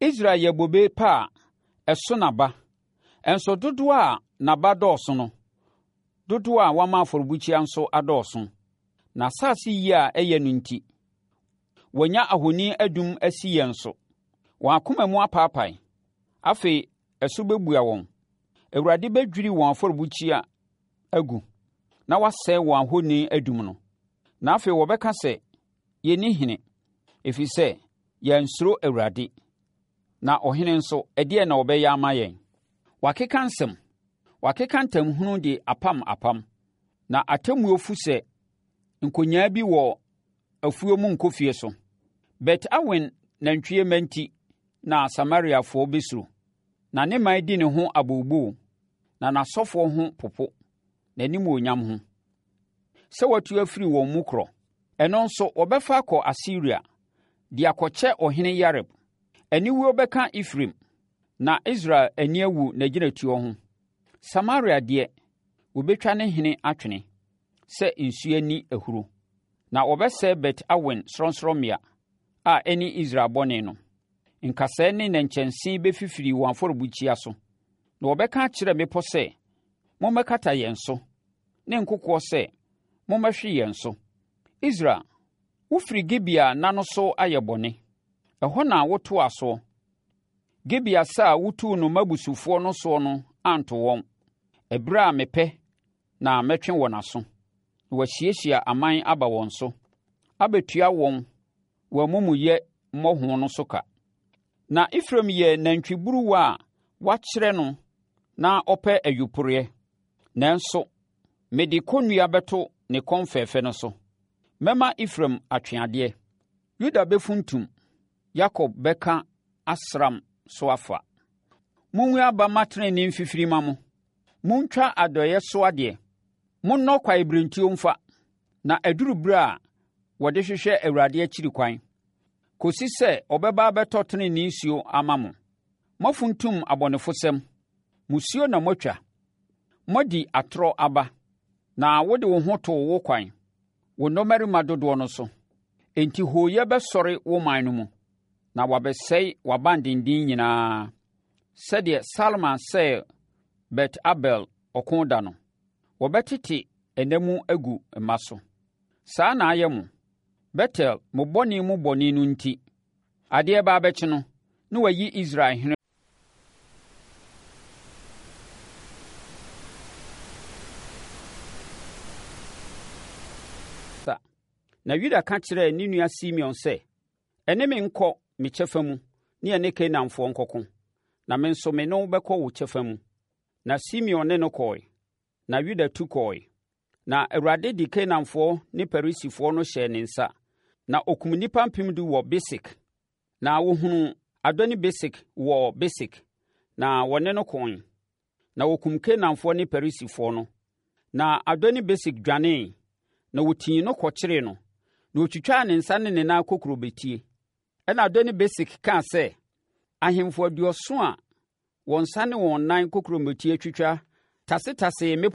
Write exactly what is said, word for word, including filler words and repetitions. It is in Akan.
Israel yɛ bobe pa a ɛso n'aba, nso dodoɔ a n'aba dɔɔso no, dodoɔ a wama afɔrebukyia nso adɔɔso. N'asase yie a ɛyɛ no nti, wɔanya ahoni adum asi yɛn so. Wɔn akoma mu apaapae. Afei ɛso bɛbua wɔn. Awurade bɛdwiri wɔn afɔrebukyia agu na wasɛe wɔn ahoni adum no. Na afei wɔbɛka sɛ, Yɛnni hene, ɛfiri sɛ yɛansuro Awurade. Na ɔhene nso, ɛdeɛn na ɔbɛyɛ ama yɛn? Wakeka nsɛm, wakeka ntamhunu de apam apam, na atemmuo fu sɛ nkonyaa bi wɔ afuo mu nkofie so. Bet-Awen nantwie mma nti na Samariafoɔ bɛsuro, na ne man di ne ho abooboo, na n'asɔfoɔ ho popo n'animuonyam ho, sɛ watu afiri wɔn mu korɔ. Ɛno nso wɔbɛfa akɔ Asiria de akɔkyɛ ɔhene Yareb. Aniwuo bɛka Efraim, na Israel ani awu n'agyinatuo ho. Samaria deɛ, wɔbɛtwa ne hene atwene sɛ nsuo ani ahuro, na wɔbɛsɛe Bet-Awen sorɔnsorɔmmea a ɛne Israel bɔne no. Nkasɛɛ ne nnɛnkyɛnse bɛfifiri wɔn afɔrebukyia so, na wɔbɛka akyerɛ mmepɔ sɛ, Mommɛkata yɛn so, ne nkokoɔ sɛ, Mommɛhwe yɛn so. Israel, wofiri Gibea nna no so ayɛ bɔne. Ɛhɔ na wotoaa soɔ. Gibea sa a wotuu no mmabusufoɔ no soɔ no anto wɔn. Ɛberɛ a mepɛ na mɛtwe wɔn aso, na wɔahyiahyia aman aba wɔn so, abɛtua wɔn wɔn amumuyɛ mmɔho no so ka. Na Efraim yɛ nantwiburuwa a wɔakyerɛ no na ɔpɛ ayuporeɛ, nanso mede kɔnnua bɛto ne kɔn fɛfɛ no so. Mɛma Efraim atwe adeɛ. Yuda bɛfuntum, Yakob bɛka asram so afa. Mongu aba mma tenenee mfifiri mma mo. Montwa adɔeɛ so adeɛ. Monnɔ kwaebirentuo mfa, na aduru berɛ a wɔde hwehwɛ Awurade akyiri kwan, kɔsi sɛ ɔbɛba abɛtɔ tenenee nsuo ama mo. Moafuntum abɔnefosɛm, musuo na moatwa. Moadi atorɔ aba, na wode wo ho too wo kwan, wo nnɔmmarima dodoɔ no so. Enti hooyɛ bɛsɔre wo man no mu, na wɔabɛsɛe w'abandenden nyinaa, sɛdeɛ Salman sɛee Bet-Arbel ɔko da no. Wɔbɛtete ɛna mu agu mma so. Saa na ayɛ mo, Betel, mo bɔne mu bɔne no nti. Adeɛ reba abɛkye no, na wɔayi Israel hene. Na Yuda ka kyerɛɛ ne nua Simeon sɛ, Ɛne me nkɔ me kyɛfa mu ne yɛne Kanaanfoɔ nkɔko, na me nso me ne wo bɛkɔ wo kyɛfa mu. Na Simeon ne no kɔe, na Yuda tu kɔe. Na Awurade de Kanaanfoɔ ne Perisifoɔ no hyɛɛ ne nsa, na ɔkum nnipa mpem du wɔ Besek. Na wɔhunuu Adoni-Besek wɔ Besek, na wɔne no koe. Na wɔkum Kanaanfoɔ ne Perisifoɔ no. Na Adoni-Besek dwanee, na wɔtii no kɔkyeree no, na wɔtwitwaa ne nsa ne ne nan kokurobetie. Ɛnna Adoni-Besek kaa sɛ, Ahemfo aduɔson a wɔn nsa ne wɔn nan kokurobetie twitwa tasetasee me pono